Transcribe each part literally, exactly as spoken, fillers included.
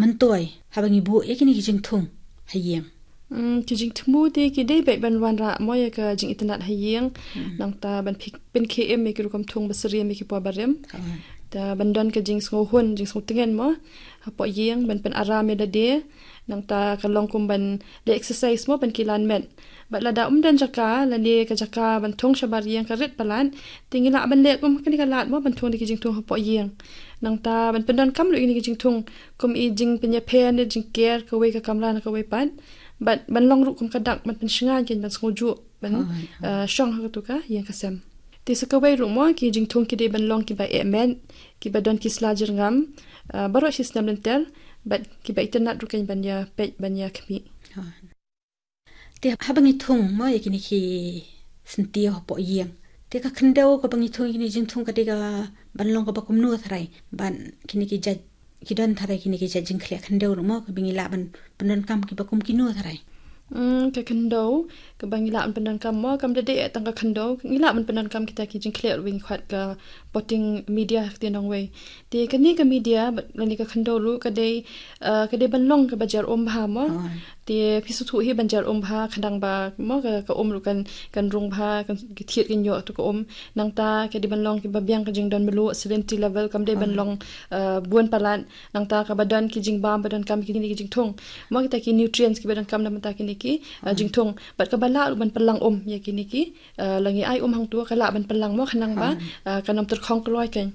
myntoi haba ngi buh ïa kine ki jingthung ha ïing? Hmm, ki jingthmu te ki dei beit ban wanrah mo ïa ka jingitynnad ha ïing. Hmm. Nangta ban pynkhie im ïa ki rukom thung ba syriem ïa ki por barim. Oh. Te ban don ka jingsngewhun, jingsngewtngen mo hapoh ïing, ban pynaram ïa lade. Nangta ka long kum ban leh exercise mo, ban kilan met. Bad lada ym don jaka lane ka jaka ban thung shabar ïing ka rit palat, te ngi lah ban leh kum kane ka lad mo, ban thung da ki jingthung hapoh ïing. Nangta ban pyndonkam ruh ïa kine ki jingthung kum i jingpynïapher ne jingker kawei ka kamra na kawei pat. Bad ban long ruh kum ka dak ban pynshngaiñ kein, ban sngewjuh ban, oh, oh, eh, shong ha katu ka ïing ka sem. Te sa kawei ruh mo, ki jingthung ki dei ban long kiba eh met, kiba don ki sla jyrngam, eh, baroh shi snem lynter, bad kiba itynnad ruh kein ban ïa peit, ban ïa khmih. Oh. Te haba ngi thung mo ïa kine ki syntiew hapoh ïing, te ka khyndew kaba ngi thung ïa kine ki jingthung ka dei ka ban long kaba kumno tharai, ban kine ki jait, ki don tharai kine ki jait jingkhleh khyndew ruh mo, kaba ngi lah ban pyndonkam kiba kum kino tharai? Hmm, ka khyndew kaba ngi lah ban pyndonkam mo, kam da dei tang ka khyndew, ngi lah ban pyndonkam kita ki jingkhleh ruh ba ngi khot ka potting media ha ka ktien nongwei. Te kane ka media ba, lane ka khyndew ruh ka dei, eh, ka dei ban long kaba jar um bha mo. Oh. Te phi sngewthuh hi ban jar um bha, khnang ba mo ka, ka um ruh kan, kan rung bha, kan, ki thied kan ïoh tu ka um. Nangta ka dei ban long kiba biang ka jingdon mluh, salinity level, kam dei ban, oh, long, eh, bun palat. Nangta kaba don ki jingbam ba donkam ïa kine ki jingthung mo, kita ki nutrients kiba donkam na bynta kine ki, eh, oh, jingthung. Bad kaba lah ruh ban pynlang um ïa kine ki, eh, lada ngi ai um hangto ka lah ban pynlang mo, khnang ba, oh, eh, kan ym tyrkhong kloi kein.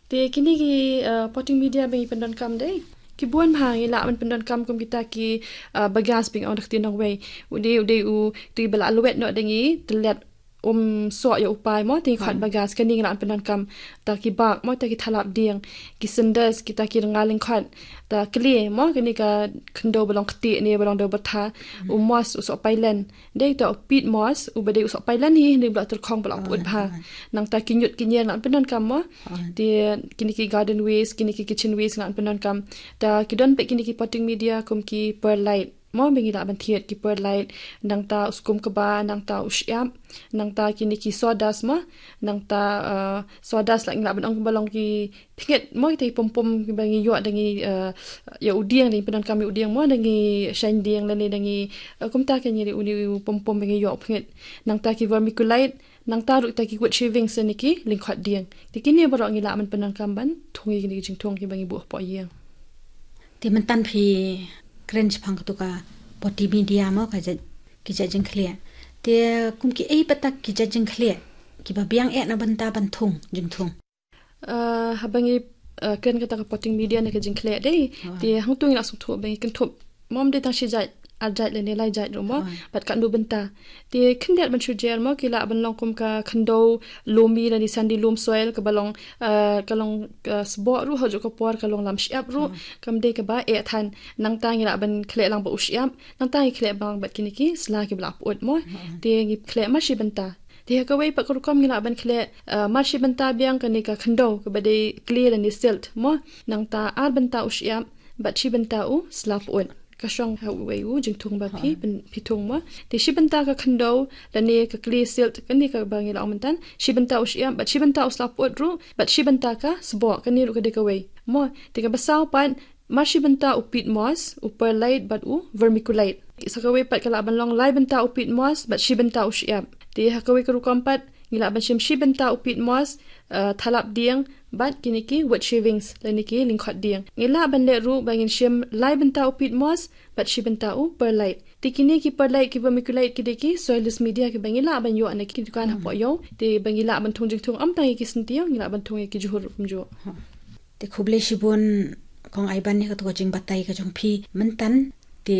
Te kine ki, eh, potting media ba ngi pyndonkam dei ki bun bha, ngi lah ban pyndonkam kum kita ki, eh, bagasse ba ngi ong da ka ktien nongwei. U dei, u dei u, te ba la lwet noh da ngi, te leit um soh ïa u pai mo, te ngi khot, hmm, bagasse, kane ngi lah ban pyndonkam. Ta ki bak mo, ta ki thalap dieng, ki cinders, kita ki rnga lyngkhot, ta khlei mo, kane ka khyndew ba long ktieh ne ba long dew byrtha, hmm, u moss, u soh pailen. Dei ta u peat moss, uba dei u soh pailen hi, dei ba la tyrkhong ba la, oh, pyut bha. Oh. Nangta ki ñiut ki ñier ngi lah ban pyndonkam mo. Oh. Te kine ki garden waste, kine ki kitchen waste ngi lah ban pyndonkam. Ta ki don pat kine ki potting media kum ki perlite mo, ba ngi lah ban thied, ki perlite, nangta u skum kba, nangta u shyiap, nangta kine ki sawdust mo, nangta, eh, sawdust lah ngi lah ban ong ba long ki pynngit mo, kita ki pom pom kiba ngi ïoh da ngi, eh, ïa u dieng, da ngi pyndonkam ïa u dieng mo, da ngi shaiñ dieng lane da ngi, eh, kumta kein, ïa une u pom pom ba ngi ïoh pynngit. Nangta ki vermiculite, nangta ruh kita ki wood shavings lane ki lyngkhot dieng. Te kine baroh ngi lah ban pyndonkam ban thung ïa kine ki jingthung kiba ngi buh hapoh ïing. Te mynta phi kren shaphang katu ka potting media mo, ka jait, ki jait jingkhleh. Te kum kiei pat ki jait jingkhleh kiba biang eh na bynta ban thung jingthung? Eh, haba ngi, eh, kren kata ka potting media ne ka jingkhleh dei. Oh. Te hangto ngi la sngewthuh ba ngi kynthup mo, ym dei tang shi jait, ar jait lane lai jait ruh mo. Oh. Bad katno bynta. Te khyndiat ban shu jer mo, ki lah ban long kum ka khyndew loamy lane sandy loam soil, kaba long, eh, ka long, eh, sboh ruh, ha juh ka por ka long lam shyiap ruh. Oh. Kam dei kaba eh than. Nangta ngi lah ban khleh lang bad u shyiap, nangta ngi khleh lang bad kine ki sla kiba la pyut mo. Oh. Te ngi khleh mar shi bynta. Te ha kawei pat ka rukom ngi lah ban khleh, eh, mar shi bynta biang kane ka khyndew kaba dei kli lane silt mo. Nangta ar bynta u shyiap, bad shi bynta u sla pyut. Ka shong ha uwei u jingthung ba phi, oh, pyn-, phi thung mo. Te shi bynta ka khyndew lane ka kli silt, kane kaba ngi la ong mynta. Shi bynta u shyiap, bad shi bynta u sla pyut ruh, bad shi bynta ka sboh, kane ruh ka dei kawei mo. Te kaba saw pat, mar shi bynta u peat moss, u perlite bad u vermiculite. Sa kawei pat ka lah ban long lai bynta u peat moss bad shi bynta u shyiap. Te ha kawei ka rukom pat ngi lah ban shim shi bynta u peat moss, eh, thalap dieng bad kine ki wood shavings lane ki lyngkhot dieng. Ngi lah ban leh ruh ba ngin shim lai bynta u peat moss bad shi bynta u perlite. Te kine ki perlite, ki vermiculite, ki dei ki soilless media kiba ngi lah ban ïoh na ki dukan, hmm, hapoh ïew. Te ba ngi lah ban thung jingthung ym tang ïa ki syntiew, ngi lah ban thung ïa ki jhur ruh kumjuh. Te khublei shibun Kong Aiban ïa katu ka jingbatai ka jong phi mynta. Te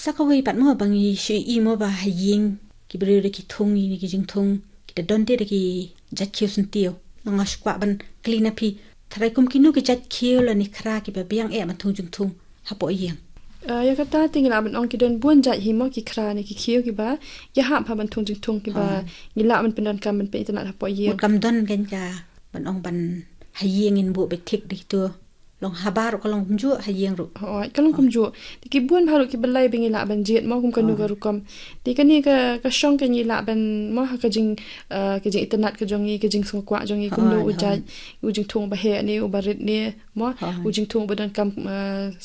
sa kawei pat mo ba ngi shu ïohi mo ba ha ïing ki briew da ki thung ïa kine ki jingthung, ki da don te da ki jait khiew syntiew. Nga shu kwah ban kylli na phi, tharai kum kino ki jait khiew lane khra kiba biang eh ban thung jingthung hapoh ïing? Eh, ïa kata te ngi lah ban ong ki don bun jait hi mo, ki khra ne ki khiew kiba ïahap ha ban thung jingthung kiba, ah, ngi lah ban pyndonkam ban pyn-itynnad hapoh ïing. Mut kam don kein ka ban ong ban ha ïing ngin buh beit thik dei to. Long habar ruh ka long kumjuh, ha ïing ruh. Hooid, ka long, oh, kumjuh. Te ki bun bha ruh kiba lai ba ngi lah ban jied mo, kum kano, oh, ka rukom. Te kane ka, ka shong ka ngi lah ban mo ha ka jing, eh, ka jingitynnad ka jong ngi, ka jingsngewkwah jong ngi, kumno, oh, u jait, oh, u jingthung ba heh ne, uba rit ne mo, oh, u jingthung ba donkam, eh,